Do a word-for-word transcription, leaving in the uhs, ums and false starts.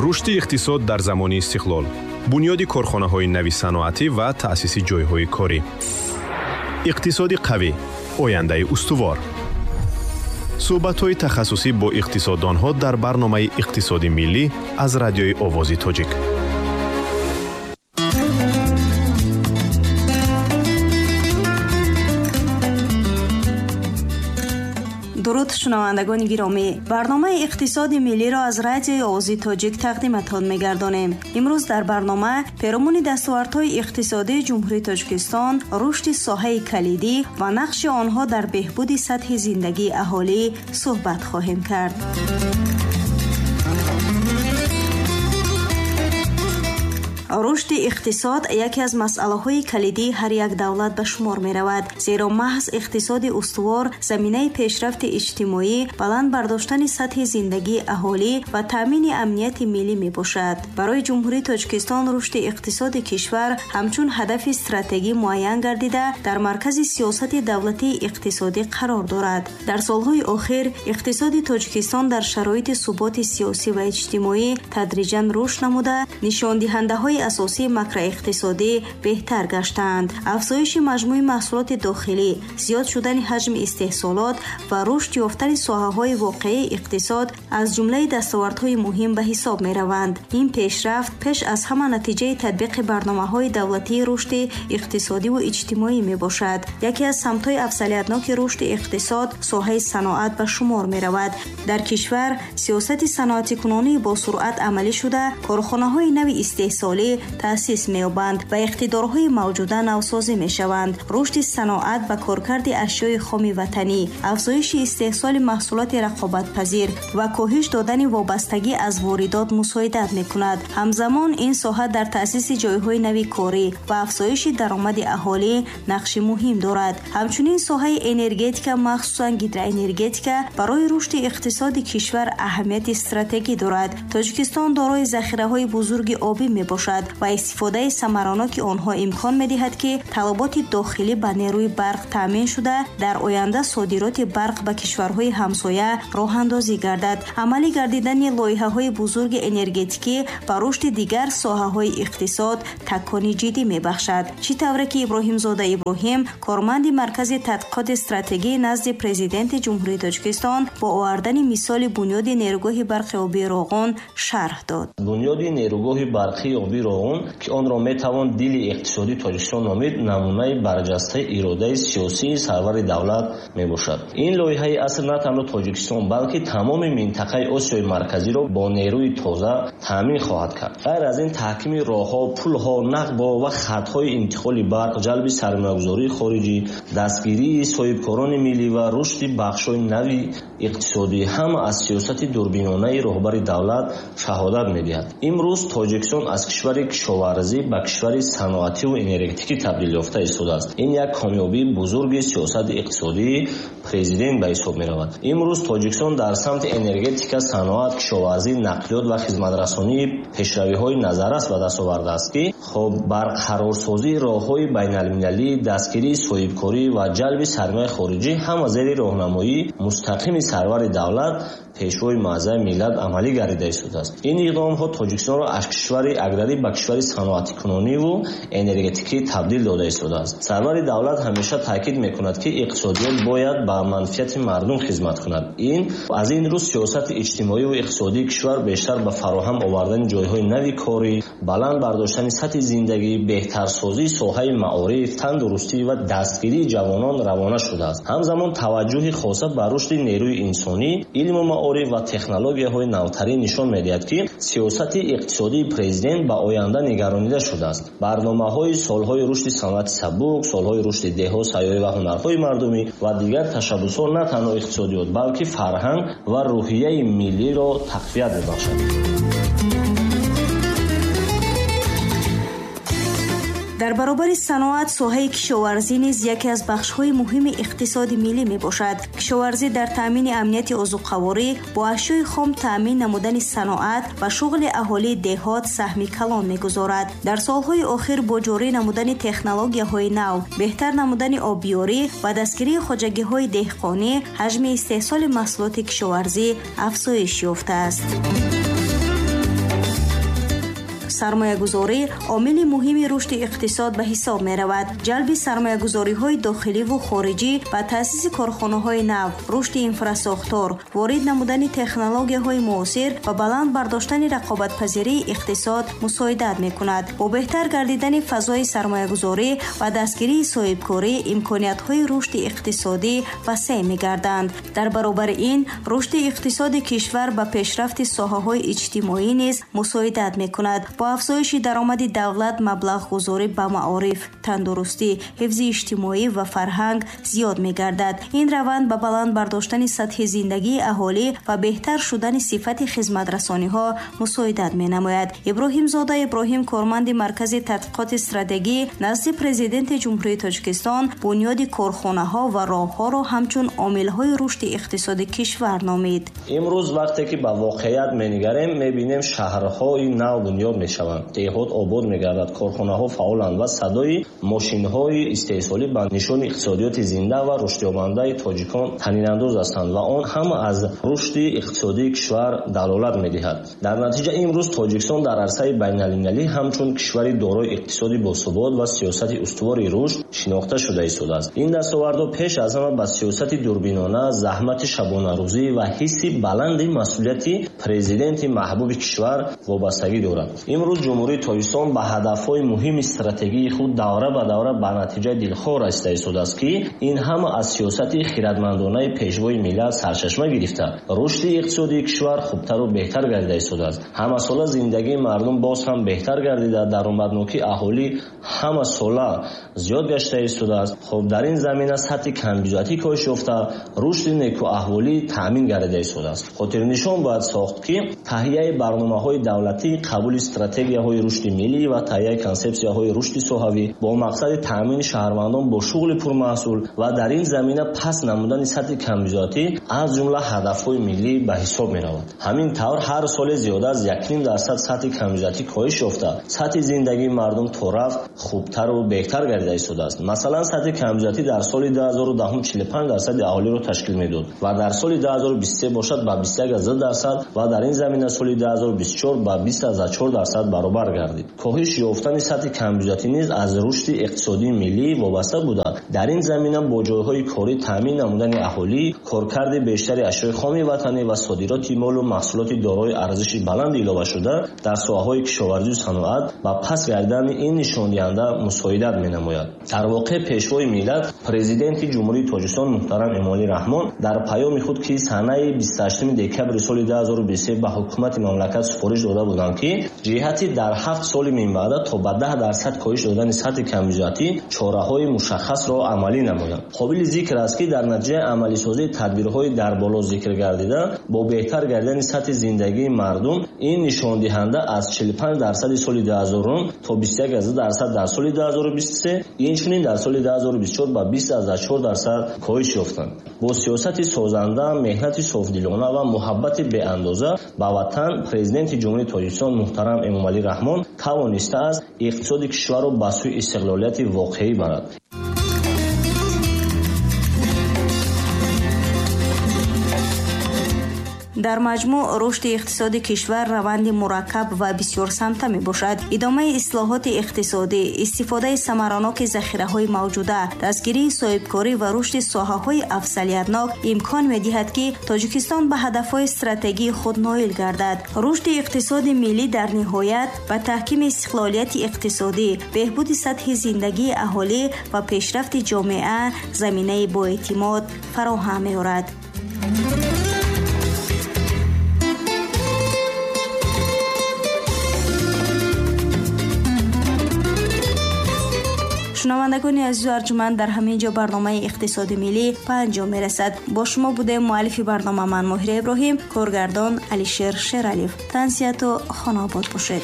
Рушди иқтисод дар замони истиқлол, бунёди корхонаҳои нави саноатӣ ва таъсиси ҷойҳои корӣ. Иқтисоди қавӣ, ояндаи устувор. Суҳбатҳои тахассусӣ бо иқтисоддонҳо дар барномаи Иқтисоди миллӣ аз радиои Овози Тоҷик. Дуруд, шунавандагони гиромӣ. Барномаи Иқтисоди миллиро аз радиои Овози Тоҷик тақдиматон мегардонем. Имрӯз дар барнома перомуни дастовардҳои иқтисодии Ҷумҳурии Тоҷикистон, рушди соҳаи калидӣ ва нақши онҳо дар беҳбуди сатҳи зиндагии аҳолӣ суҳбат хоҳем кард. Рушди иқтисод яке аз масъалаҳои калидии ҳар як давлат ба шумор меравад, зеро маҳз иқтисоди устувор заминаи пешрафти иҷтимоӣ, баланд бардоштани сатҳи зиндагии аҳолӣ ва таъмини амнияти миллӣ мебошад. Барои Ҷумҳурии Тоҷикистон рушди иқтисоди кишвар ҳамчун ҳадафи стратегӣ муайян гардида, дар маркази сиёсати давлатии иқтисодӣ қарор дорад. Дар солҳои охир иқтисоди Тоҷикистон дар шароити суботи сиёсӣ ва иҷтимоӣ тадриҷан рушд намуда, нишондиҳандаҳои асосии макроиқтисодӣ беҳтар гаштаанд. Афзоиши маҷмӯи маҳсулоти дохилӣ, зиёд шудани ҳаҷми истеҳсолот ва рушд ёфтани соҳаҳои воқеии иқтисод аз ҷумлаи дастовардҳои муҳим ба ҳисоб мераванд. Ин пешрафт пеш аз ҳама натиҷаи татбиқи барномаҳои давлатии рушди иқтисодиву иҷтимоӣ мебошад. Яке аз самтҳои афзалиятноки рушди иқтисод соҳаи саноат ба шумор меравад. Дар кишвар сиёсати саноатикунонии босуръат амалӣ шуда, корхонаҳои нави истеҳсолӣ таъсис меёбанд ва иқтидорҳои мавҷуда навсозӣ мешаванд. Рушди саноат ба коркарди ашёи хоми ватанӣ, афзоиши истеҳсоли маҳсулоти рақобатпазир ва коҳиш додани вобастагӣ аз воридот мусоидат мекунад. Ҳамзамон ин соҳа дар таъсиси ҷойҳои нави корӣ ва афзоиши даромади аҳолӣ нақши муҳим дорад. Ҳамчунин соҳаи энергетика, махсусан гидроэнергетика, барои рушди иқтисоди кишвар аҳамияти стратегӣ дорад. Тоҷикистон дорои захираҳои бузурги обӣ мебошад ва истифодаи самараноки онҳо имкон медиҳад, ки талаботи дохилӣ ба нерӯи барқ таъмин шуда, дар оянда содироти барқ ба кишварҳои ҳамсоя роҳандозӣ гардад. Амалӣ гардидани лоиҳаҳои бузурги энергетикӣ ба рушди дигар соҳаҳои иқтисод такони ҷиддӣ мебахшад. Чӣ тавре ки Иброҳимзода Иброҳим, корманди Маркази тадқиқоти стратегӣ назди Президенти Ҷумҳурии Тоҷикистон, бо овардани мисоли бунёди нерӯгоҳи барқи обии Роғун шарҳ дод. Бунёди нерӯгоҳи барқии обии Роғун, ки онро метавон дили иқтисодии Тоҷикистон номид, намунаи барҷастаи иродаи сиёсии сарвари давлат мебошад. Ин лоиҳаи аср на танҳо Тоҷикистон, балки тамоми минтақаи Осиёи Марказиро бо нерӯи тоза таъмин хоҳад кард. Ғайр аз ин, таҳкими роҳҳо, пулҳо, нақбҳо ва хатҳои интиқоли барқ, ҷалби сармоягузории хориҷӣ, дастгирии соҳибкорони миллӣ ва рушди бахшҳои нави иқтисодӣ ҳама аз сиёсати дурбинонаи роҳбари давлат шаҳодат медиҳад. Имрӯз Тоҷикистон аз кишвари кишоварзӣ ба кишвари саноативу энергетикӣ табдил ёфта истодааст. Ин як комёбии бузурги сиёсати иқтисодии президент ба ҳисоб меравад. Имрӯз Тоҷикистон дар самти энергетика, саноат, кишоварзӣ, нақлиёт ва хизматрасонии пешравиҳои назаррас ба даст овардааст, ки хоб барқарорсозии роҳҳои байналмилалӣ, дастгирии соҳибкорӣ ва ҷалби сармояи хориҷӣ ҳама зери роҳнамоии мустақими сарвари давлат, пешвои муаззами миллат амалӣ гардида истодааст. Ин иқдомҳо Тоҷикистонро аз кишвари аграрӣ ба кишвари саноатикунониву энергетикӣ табдил дода истодааст. Сарвари давлат ҳамеша таъкид мекунад, ки иқтисодиёт бояд ба манфиати мардум хизмат кунад. Ин аз ин рӯ сиёсати иҷтимоиву иқтисодии кишвар бештар ба фароҳам овардани ҷойҳои нави корӣ, баланд бардоштани сатҳи зиндагӣ, беҳтарсозии соҳаи маориф, тандурустӣ ва дастгирии ҷавонон равона шудааст. Ҳамзамон таваҷҷӯҳи хоса ба рушди нерӯи инсонӣ, илму маориф ва технологияҳои навтарин нишон медиҳад, ки сиёсати иқтисодии президент ба оянда нигаронида шудааст. Барномаҳои солҳои рушди саноати сабук, солҳои рушди деҳот, сайёҳӣ ва ҳунарҳои мардумӣ ва дигар ташаббусҳо на танҳо иқтисодиёт, балки фарҳанг ва рӯҳияи миллиро тақвият мебахшад. Дар баробари саноат, соҳаи кишоварзӣ низ яке аз бахшҳои муҳими иқтисоди миллӣ мебошад. Кишоварзӣ дар таъмини амнияти озуқаворӣ, бо ашёи хом таъмин намудани саноат ва шуғли аҳолии деҳот саҳми калон мегузорад. Дар солҳои охир бо ҷорӣ намудани технологияҳои нав, беҳтар намудани обиёрӣ ва дастгирии хоҷагиҳои деҳқонӣ, ҳаҷми истеҳсоли маҳсулоти кишоварзӣ афзоиш ёфтааст. Сармоягузорӣ омили муҳими рушди иқтисод ба ҳисоб меравад. Ҷалби сармоягузориҳои дохиливу хориҷӣ ба таъсиси корхонаҳои нав, рушди инфрасохтор, ворид намудани технологияҳои муосир ва баланд бардоштани рақобатпазирии иқтисод мусоидат мекунад. Бо беҳтар гардидани фазои сармоягузорӣ ва дастгирии соҳибкорӣ имкониятҳои рушди иқтисодӣ васеъ мегарданд. Дар баробари ин, рушди иқтисоди кишвар ба пешрафти соҳаҳои иҷтимоӣ низ мусоидат мекунад. Бо афзоиши даромади давлат маблағгузорӣ ба маориф, тандурустӣ, ҳифзи иҷтимоӣ ва фарҳанг зиёд мегардад. Ин раванд ба баланд бардоштани сатҳи зиндагии аҳолӣ ва беҳтар шудани сифати хизматрасониҳо мусоидат менамояд. Иброҳимзода Иброҳим, корманди Маркази тадқиқоти стратегӣ назди Президенти Ҷумҳурии Тоҷикистон, бунёди корхонаҳо ва роҳҳоро ҳамчун омилҳои рушди иқтисоди кишвар номид. Имрӯз вақте ки ба воқеият менигарем, мебинем шаҳрҳои нав бунёд мешаванд, деҳот обод мегардад, корхонаҳо фаъоланд ва садои мошинҳои истеҳсолӣ ба нишони иқтисодиёти зинда ва рушдёбандаи тоҷикон танинандоз ҳастанд ва он ҳама аз рушди иқтисодии кишвар далолат медиҳад. Дар натиҷа имрӯз Тоҷикистон дар арсаи байналмилалӣ ҳамчун кишвари дорои иқтисоди босубот ва сиёсати устувори рушд шинохта шуда истодааст. Ин дастовардҳо пеш аз ҳама ба сиёсати дурбинона, заҳмати шабонарӯзӣ ва ҳисси баланди масъулияти президенти маҳбуби кишвар вобастагӣ дорад. Имрӯз Ҷумҳурии Тоҷикистон ба ҳадафҳои муҳими стратегии худ давра ба давра ба натиҷаи дилхоҳ расида истодааст, ки ин ҳама аз сиёсати хирадмандонаи пешвои миллат сарчашма гирифта, рушди иқтисодии кишвар хубтару беҳтар гардида истодааст. Ҳамасола зиндагии мардум боз ҳам беҳтар гардида, даромаднокии аҳолӣ ҳамасола зиёд гашта истодааст. Хуб, дар ин замина сатҳи камбизоатӣ коҳиш ёфта, рушди некӯаҳволӣ таъмин гардида истодааст. Хотирнишон бояд сохт, ки таҳияи барномаҳои давлатӣ, қабули стратегияҳои рушди миллӣ ва таҳияи консепсияҳои рушди соҳавӣ бо мақсади таъмини шаҳрвандон бо шуғли пурмаҳсул ва дар ин замина паст намудани сатҳи камбизоатӣ аз ҷумла ҳадафҳои миллӣ ба ҳисоб меравад. Ҳамин тавр ҳар соле зиёда аз як ним дарсад сатҳи камбизоатӣ коҳиш ёфта, сатҳи зиндагии мардум то рафт хубтару беҳтар гардида истодааст. Масалан, сатҳи камбизоатӣ дар соли ду ҳазору даҳум чилу панҷ дарсади аҳолиро ташкил медод ва дар соли ду ҳазору бисту се бошад ба бисту як аз ду дарсад ва дар ин замина соли ду ҳазору бисту чор ба бист аз чор дарсад баробар гардид. Коҳиш ёфтани сатҳи камбизоатӣ низ аз рушди иқтисодии миллӣ вобаста буда, дар ин замина бо ҷойҳои корӣ таъмин намудани аҳолӣ, коркарди бештари ашёи хоми ватанӣ ва содироти молу маҳсулоти дорои арзиши баланд иловашуда дар соҳаҳои кишоварзию саноат ба паст гардидани ин нишондиҳанда мусоидат менамояд. Дар воқеъ пешвои миллат, Президенти Ҷумҳурии Тоҷикистон муҳтарам Эмомалӣ Раҳмон дар паёми худ, ки санаи бисту ҳаштуми декабри соли ду ҳазору бисту се ба ҳукумати мамлакат супориш дода буданд, ки ҷиҳати дар ҳафт соли минбаъда то ба даҳ дарсад коҳиш додани сатҳи камбизоатӣ чораҳои мушаххасро амалӣ намоянд. Қобили зикр аст, ки дар натиҷаи амалисозии тадбирҳои дар боло зикр гардида бо беҳтар гардидани сатҳи зиндагии мардум ин нишондиҳанда аз чилу панҷ дарсади соли ду ҳазору то бисту як аз ду дарсад дар соли ду ҳазору бисту се, инчунин дар соли ду ҳазору бисту чор ба бист аз чор дарсад коҳиш ёфтанд. Бо сиёсати созанда, меҳнати софдилона ва муҳаббати беандоза ба ватан, Президенти Ҷумҳурии Тоҷикистон муҳтарам Эмомалӣ Раҳмон тавонистааст иқтисоди кишварро ба сӯи истиқлолияти воқеӣ барад. Дар маҷмӯъ рушди иқтисоди кишвар раванди мураккаб ва бисёрсамта мебошад. Идомаи ислоҳоти иқтисодӣ, истифодаи самараноки захираҳои мавҷуда, дастгирии соҳибкорӣ ва рушди соҳаҳои афзалиятнок имкон медиҳад, ки Тоҷикистон ба ҳадафҳои стратегии худ ноил гардад. Рушди иқтисоди миллӣ дар ниҳоят ба таҳкими истиқлолияти иқтисодӣ, беҳбуди сатҳи зиндагии аҳолӣ ва пешрафти ҷомеа заминаи боэътимод фароҳам меорад. Шунавандагони азизу арҷуманд, дар ҳамин ҷо барномаи иқтисоди миллӣ ба анҷом мерасад. Бо шумо будем муаллифи барнома ман Моҳира Иброҳим, коргардон Алишер Шералиев. Тансиҳату хонаобод бошед.